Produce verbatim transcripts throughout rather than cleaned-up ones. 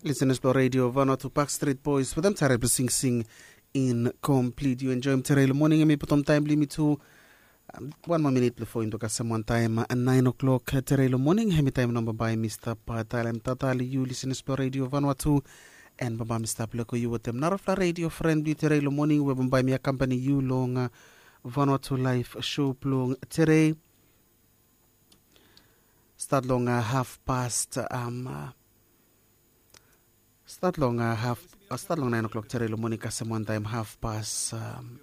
Lisenas blong redio Vanua tu Park Street Boys wetem tare blong singsing in komplit. Yu enjoim tere long moning, em i bottom taim blong yumi tu. Wan moa minit bifo yumi tu kasem wan taim nain o'clock tere long moning, em i taim nao bambae mi stap talem tata long yu lisenas blong redio Vanua tu. En bambae mi stap leko yu wetem narafala redio fren blong yu tere long moning we bambae mi akampani yu long Vanua tu laif show blong tere. Stat long haf past um, stat long haf stat long nain o'clock tere long moning kasem wan taim haf pas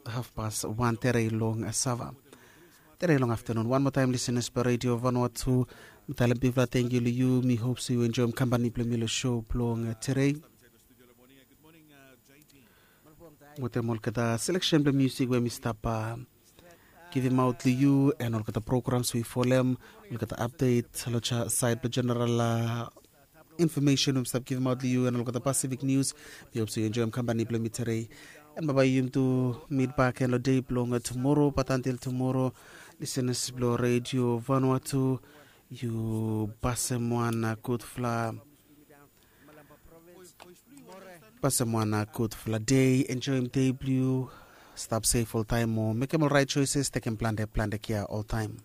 haf pas wan tere long sava. Tere long aftanun wan moa taim lisenas blong redio Vanua tu. Mi talem bigfala tengkiu long yu, mi hop se yu enjoim kampani blong mi long show blong tere. Wetem olgeta seleksen blong musik we mi stap givimaot long yu en olgeta programs we i folem, olgeta apdet long sait blong jeneral infomesen we mi stap givimaot long yu en olgeta Pasifik Nius. Mi hop se yu enjoim kampani blong mi tere. En bambae yumi tu mit bak en long dei blong tumoro, bat antil tumoro, lisenas blong redio Vanua tu, yu pasem wan gudfala pasem wan gudfala dei, enjoim dei blong yu. Stap sef oltaim o mekem ol rait soeses, tekem plante plante kea oltaim.